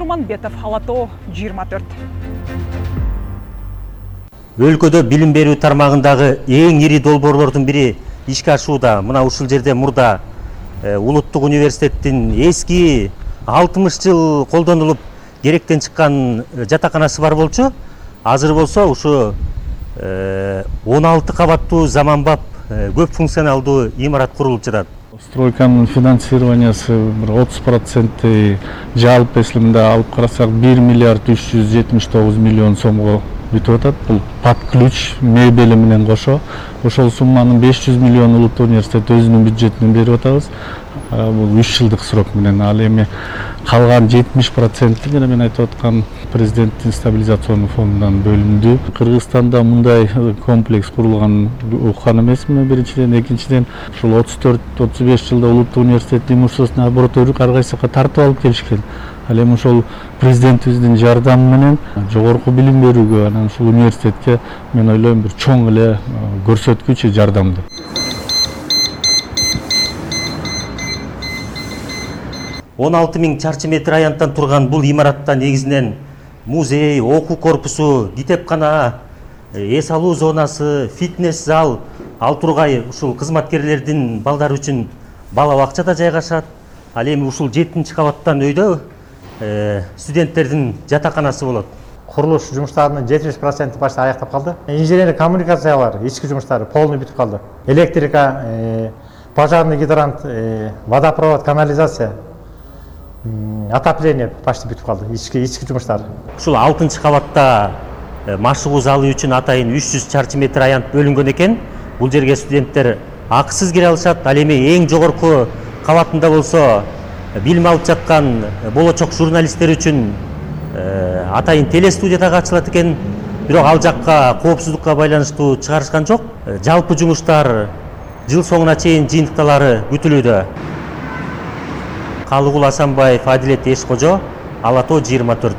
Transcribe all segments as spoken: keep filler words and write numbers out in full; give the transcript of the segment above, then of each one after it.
Нурманбетов, Ала тоо жыйырма төрт. Өлкөдө билим берүү тармагындагы эң ири долбоорлордун бири ишке ашууда. Мына ушул жерде мурда Улуттук университеттин эски алтымыш жыл колдонулуп керектен чыккан жатаканасы бар болчу. Азыр болсо ушу он алты кабаттуу заманбап көп функционалдуу имарат курулуп жатат. Стройканын финансированиясы отуз проценти жалпы эслимде алып карасак бир миллиард үч жүз жетимиш тогуз миллион сомго бүтүп атат. Бул под ключ мебели менен кошо. Ошол сумманын беш жүз миллион Улуттук университет өзүнүн бюджетинен берип атабыз. Бул үч жылдык срок менен. Ал эми калган жетимиш проценти жана мен айтып аткан президенттин стабилизационный фондунан бөлүндү. Кыргызстанда мындай комплекс курулган уккан эмесмин биринчиден, экинчиден ушул отуз төрт отуз беш жылда Улуттук университеттин имущественный обороту ар кайсыга тартып алып келишкен. Ал эми ошол президентибиздин жардамы менен жогорку билим берүүгө, анан ушул университетке мен ойлойм бир чоң эле көрсөткүч жардамды. он алты миң чарчы метр аянттан турган бул имаратта негизинен музей, окуу корпусу, китепкана, эс алуу зонасы, фитнес зал, ал тургай ушул кызматкерлердин балдары үчүн бала бакча да жайгашат. Ал эми ушул жетинчи кабаттан өйдө студенттердин жатаканасы болот. Курулуш жумуштарынын жетимиш проценти башта аяктап калды. Инженерлик коммуникациялар, ички жумуштары полный бүтүп калды. Электрика, пожарный гидрант, водопровод, канализация, отопление почти бүтүп калды. Ички ички жумуштар. Ушул алтынчы кабатта машыгуу залы үчүн атайын үч жүз чарчы метр аянт бөлүнгөн экен. Бул жерге студенттер акысыз кире алышат. Ал эми эң жогорку кабатында болсо билим алып жаткан болочок журналисттер үчүн атайын телестудия дагы ачылат экен. Бирок ал жакка коопсуздукка байланыштуу чыгарышкан жок. Жалпы жумуштар жыл соңуна чейин жыйынтыкталары күтүлүүдө. Калыгул Асанбаев, Адилет Эшкожо, Ала тоо жыйырма төрт.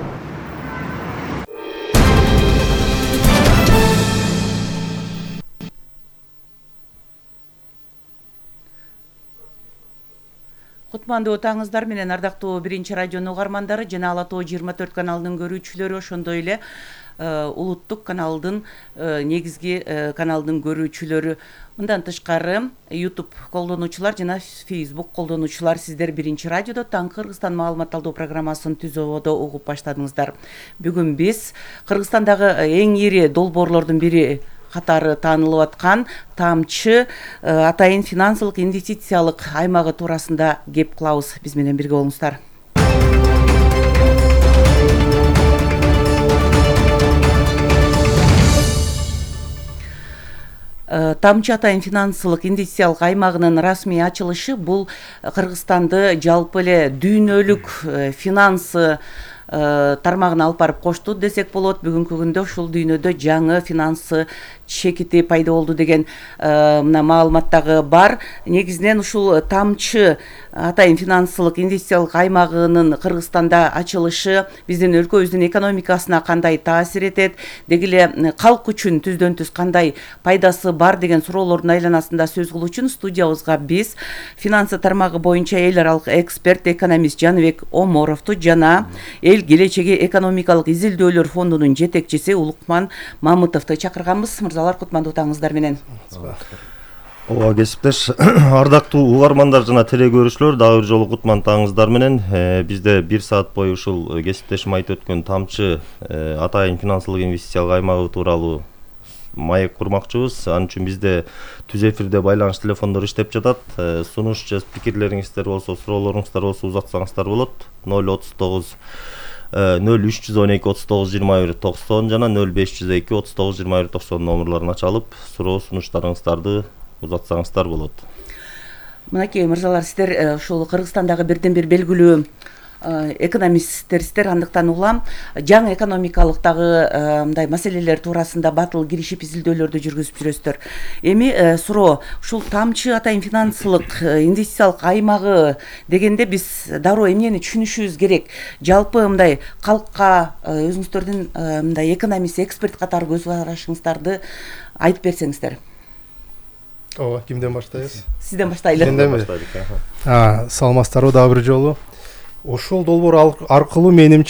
Кутмандуу таңыздар менен ардактуу биринчи радионун угармандары жана Ала тоо жыйырма төрт каналынын көрүүчүлөрү, ошондой эле улуттук каналдын негизги каналдын көрүүчүлөрү. Мындан тышкары YouTube колдонуучулар жана Facebook колдонуучулар, сиздер биринчи радиодо Таң Кыргызстан маалыматталдоо программасын түзүүдө угуп баштадыңыздар. Бүгүн биз Кыргызстандагы эң ири долбоорлордун бири катары таанылып аткан Тамчы атайын финансылык инвестициялык аймагы туурасында кеп кылабыз. Биз менен бирге болуңуздар. Тамчы атайын финансылык инвестициялык аймагынын расмий ачылышы бул Кыргызстанды жалпы эле дүйнөлүк финансы тармагына алып барып кошту десек болот. Бүгүнкү күндө ушул дүйнөдө жаңы финансы чекити пайда болду деген мына маалымат дагы бар. Негизинен ушул Тамчы атайын финансылык инвестициялык аймагынын Кыргызстанда ачылышы биздин өлкөбүздүн экономикасына кандай таасир этет, деги эле калк үчүн түздөн түз кандай пайдасы бар деген суроолордун айланасында сөз кылуу үчүн студиябызга биз финансы тармагы боюнча эл аралык эксперт, экономист Жаныбек Оморовду жана эл келечеги экономикалык изилдөөлөр фондунун жетекчиси Улукман Мамытовду чакырганбыз. Мырзалар, кутмандуу таңыздар менен. Ооба, кесиптеш, ардактуу угармандар жана теле көрүүчүлөр, дагы бир жолу кутман таңыздар менен. Бизде бир саат бою ушул кесиптешим айтып өткөн Тамчы атайын финансылык инвестициялык аймагы тууралуу маек курмакчыбыз. Анын үчүн бизде түз эфирде байланыш телефондору иштеп жатат. Сунуш же пикирлериңиздер болсо, суроолоруңуздар болсо узатсаңыздар болот. ноль отуз тогуз ноль үч жүз он эки отуз тогуз жыйырма бир токсон жана ноль беш жүз эки отуз тогуз жыйырма бир токсон номерлерин ачалып, суроо сунуштарыңыздарды узатсаңыздар болот. Мынакей мырзалар, сиздер ушул Кыргызстандагы бирден бир белгилүү экономисттерсиздер, андыктан улам жаңы экономикалык дагы мындай маселелер туурасында батыл киришип изилдөөлөрдү жүргүзүп жүрөсүздөр. Эми суроо, ушул Тамчы атайын финансылык инвестициялык аймагы дегенде биз дароо эмнени түшүнүшүбүз керек? Жалпы мындай калкка өзүңүздөрдүн мындай экономист, эксперт катары көз карашыңыздарды айтып берсеңиздер. Ооба, кимден баштайбыз? Сизден баштайлы. Сизден баштайлык. А, саламатсыздарбы дагы бир жолу. Ошол долбоор аркылуу менимче